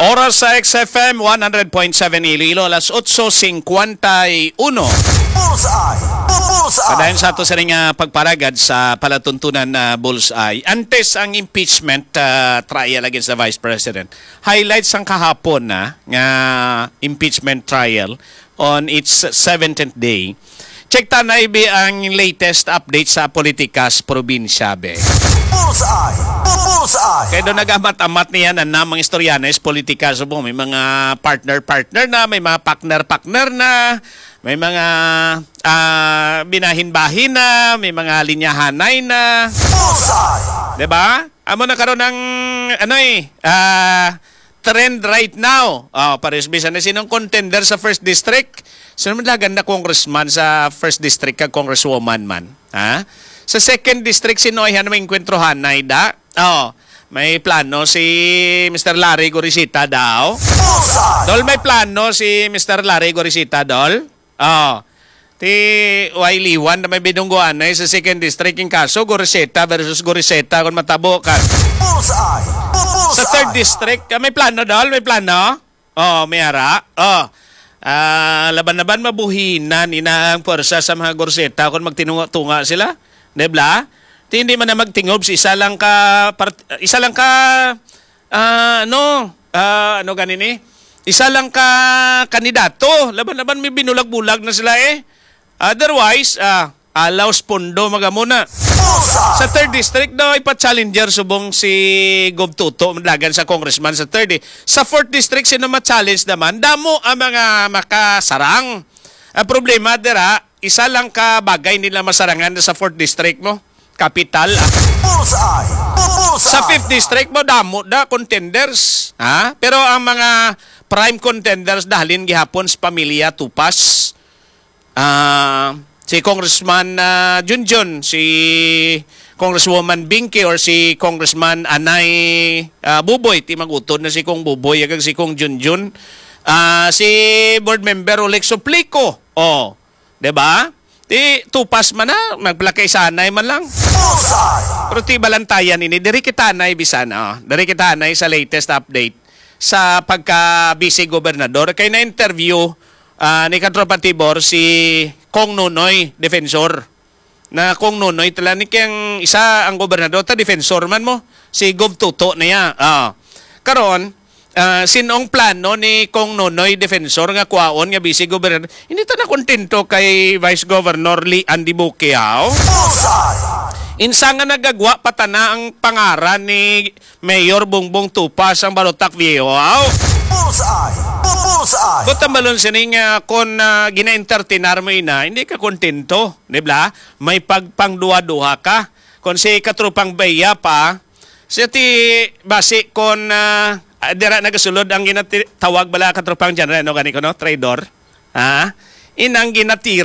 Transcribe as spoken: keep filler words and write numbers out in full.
Oras sa X F M one hundred point seven Iloilo, alas otso cincuenta y uno. Bullseye! Bullseye! Padayon sa ato sa ring, ah, pagparagad sa palatuntunan na Bullseye. Antes ang impeachment, ah, trial against the Vice President. Highlights sang kahapon na nga impeachment trial on its seventeenth day. Check ta na, ibi, ang latest update sa politika sa probinsya, be. Bullseye! Bullseye! Kaya doon nagamat-amat niya na namang istoryanes politika subong. May mga partner-partner na, may mga partner-partner na, may mga, ah, binahin-bahin na, may mga linyahanay na. Bullseye! Diba? Amo na karon ang, ano eh, ah, trend right now. Oh, pares bisan na sinong contender sa first district. Sino man lagan na congressman sa first district kag congresswoman man? Ha? Sa second district, sino ay may enkwentro hanay da? Oh, may plano si Mister Larry Gorisita daw. Bullseye! Dol, may plano si Mister Larry Gorisita, Dol? Oh. Ti, way liwan na may binungguan na sa second district, yung kaso Goriseta versus Goriseta kung matabo ka. Bullseye! Sa third district, ah, may plano, Dol? May plano? Oh, may ara. Oh. Ah, laban-laban mabuhinan ina ang pwersa sa mga Goriseta kung magtinunga-tunga sila. Di bla? Ti hindi man na magtingob sa isa lang ka part-, isa lang ka, ah, ano, ah, ano gani ni? Isa lang ka kandidato. Laban-laban may binulag-bulag na sila eh. Otherwise, ah, alaw sa pondo magamuna. Sa third district daw ipa-challenger subong si Gov Toto, madlagan sa congressman sa third eh. Sa fourth district, sino ma-challenge naman? Damo ang mga makasarang. Ang problema dira, isa lang ka bagay nila masarangan sa fourth district mo. Kapital, ah. Bullseye! Bullseye! Sa fifth district mo, damo da contenders, ha? Pero ang mga prime contenders dahalin gihapon sa pamilya Tupas. Ah, si Congressman, ah, Junjun, si Congresswoman Binky, or si Congressman Anay, ah, Buboy, ti mag-utod na si Cong Buboy, kag si Cong Junjun. Ah, si Board Member Oleg Suplico. Oh, di ba? Ti Tupas man na, magpalakay sanay man lang. Bullseye! Pero ti balantayan ini, diri kita anay bisan, oh. Diri kita anay sa latest update sa pagka vice gobernador. Kay na-interview, ah, ni Katropa Tibor si Cong Nonoy Defensor. Na Cong Nonoy tala ni kay ang isa ang gobernador ta defensor man mo, si Gov Toto na ya. Ah. Karon, ah, sinong plano ni Cong Nonoy Defensor nga kuwaon nga vice gobernador? Hindi ta na kontento kay Vice Governor Lee Andy Bukiaw. Bullseye! Insa nga nagagwa pa tana ang pangaran ni Mayor Bongbong Tupas ang Barotac Viejo, aw? Bullseye! Bullseye! Kung tambalon sini nga kung, ah, gina-entertainar mo ina, hindi ka kontento, di ba? May pagpangduha-duha ka. Kung si Katropang Baya pa, siya ti basi kung, ah, ah, dira nagasulod ang ginati-, tawag bala Katropang General, no, gani ko, no? Traidor. Ha? Inang ginatira